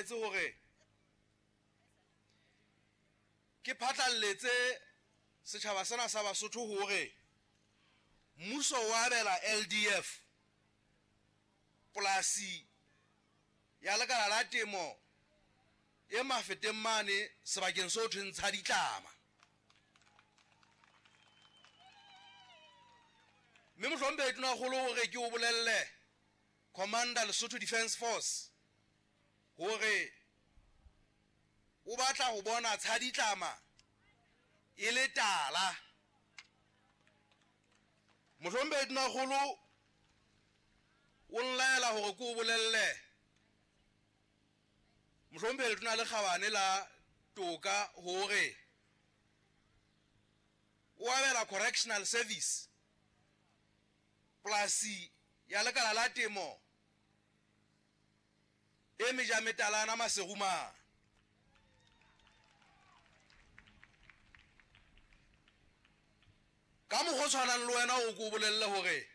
nlaetse hore ke phatlalletse setjhaba sena sa Basotho hore mmuso wa abela LDF polasi ya lekala la temo e mafeteng mane sebakeng seo thweng tsha ditlama. Mme mohlomphehi Tonakgolo hore ke o bolelle Commander Lesotho Defence Force hore o batla ho bona tsha ditlama e le tala. Mohlomphehi Tonakgolo o nlaela hore ke o bolelle mohlomphehi Letona le Kgabane la Toka hore o abela Correctional Service polasi ya lekala la temo e mejametalana Maseruma. Ka mokgwa o tshwanang le wena o ko bolelle hore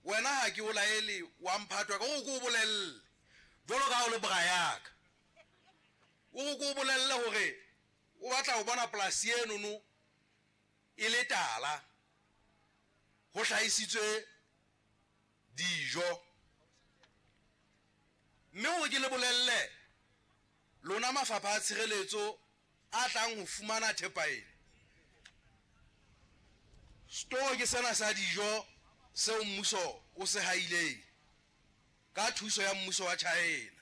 wena ha ke o laele wa mphatwa ka o ko bolelle jwalo ka ha o le bra ya ka. O ko bolelle hore o batla ho bona polasi enono e le tala, ho hlahisitswe dijo. Mme hore ke le bolelle lona mafapha a tshireletso a tlang ho fumana thepa ena, store ke sena sa dijo seo mmuso o se haileng ka thuso ya mmuso wa China.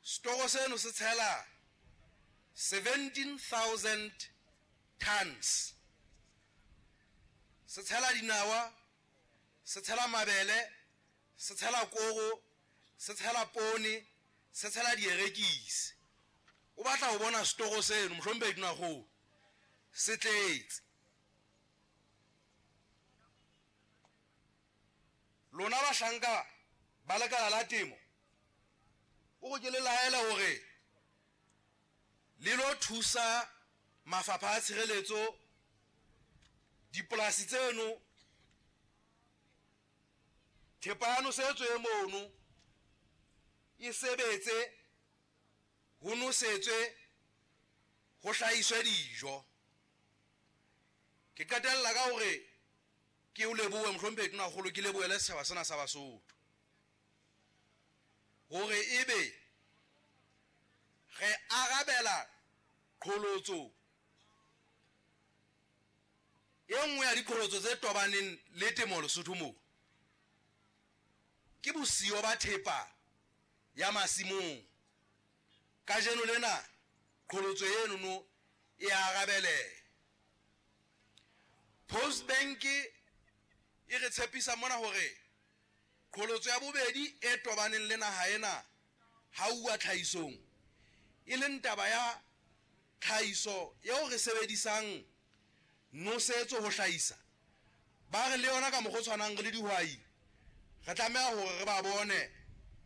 Store seno se tshela 17,000 tons, se tshela dinawa, se tshela mabele, se tshela koro, se tshela poone, se tshela dierekisi. O batla ho bona store seno mohlomphehi Tonakgolo se tletse. Lona bahlanka ba lekala la temo o go ke le laela hore le lo thusa mafapha a tshireletso dipolasi tseno, thepa ya nosetso e mono e sebetse, ho nosetswe, ho hlahiswe dijo. Ke qetella ka hore ke o lebohe mohlomphehi Tonakgolo, ke lebohele setjhaba sena sa Basotho hore ebe re arabela qholotso e nngwe ya diqholotso tse tobaneng le temo Lesotho moo ke bosiyo ba thepa ya masimong. Kajeno lena qholotso enono e arabele. Post Bank e re tshepisa mona hore qholotso ya bobedi e tobaneng le naha ena ha uwa tlhahisong, e leng taba ya tlhahiso eo re sebedisang nosetso ho hlahisa, ba re le yona ka mokgwa o tshwanang re le dihwai re tlameha hore re ba bone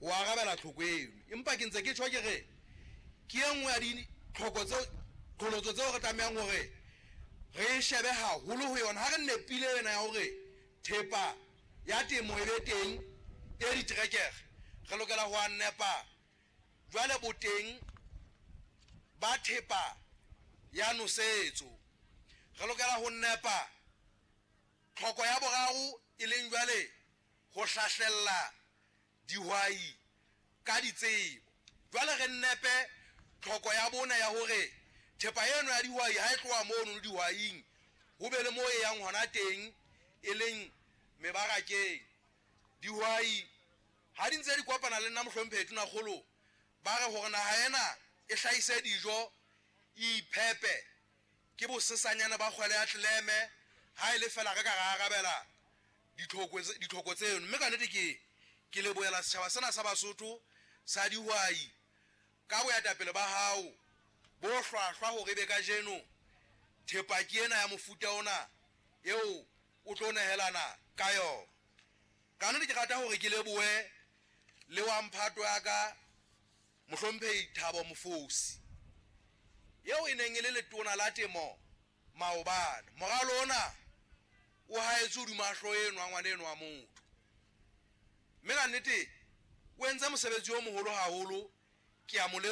ho arabela tlhoko eno. Empa ke ntse ke tjho ke re ke e nngwe ya ditlhoko tseo, qholotso tseo re tlamehang hore re shebe haholo ho yona ha re nepile ena ya hore thepa ya temo e be teng e diterekere, re lokela ho a nepa jwale boteng ba thepa ya nosetso. Re lokela ho nepa tlhoko ya boraro e leng jwale ho hlahlella dihwai ka ditsebo. Jwale re nepe tlhoko ya bone ya hore thepa eno ya dihwai ha e tloha mono dihwaing ho be le moo e yang hona teng e leng mebarakeng. Dihwai ha di ntse di kopana le nna mohlomphehi Tonakgolo ba re hore naha ena e hlahise dijo e iphepe ke bosesanyana ba kgwele ya tleleme ha e le fela re ka ra arabela ditlhoko tseno. Mme ka nnete ke lebohela setjhaba sena sa Basotho sa dihwai ka boetapele ba hao bo hlwahlwa hore ebe kajeno thepa ke ena ya mofuta ona eo o tlo nehelana ka yona. Ka nnete ke rata hore ke lebohe le wa mphato ya ka mohlomphehi Thabo Mofosi eo e neng e le letona la temo maobane. Moralo ona o haetse hodima hlooho eno wa ngwana eno wa motho, mme ka nnete o entse mosebetsi o moholo haholo. Ke a mo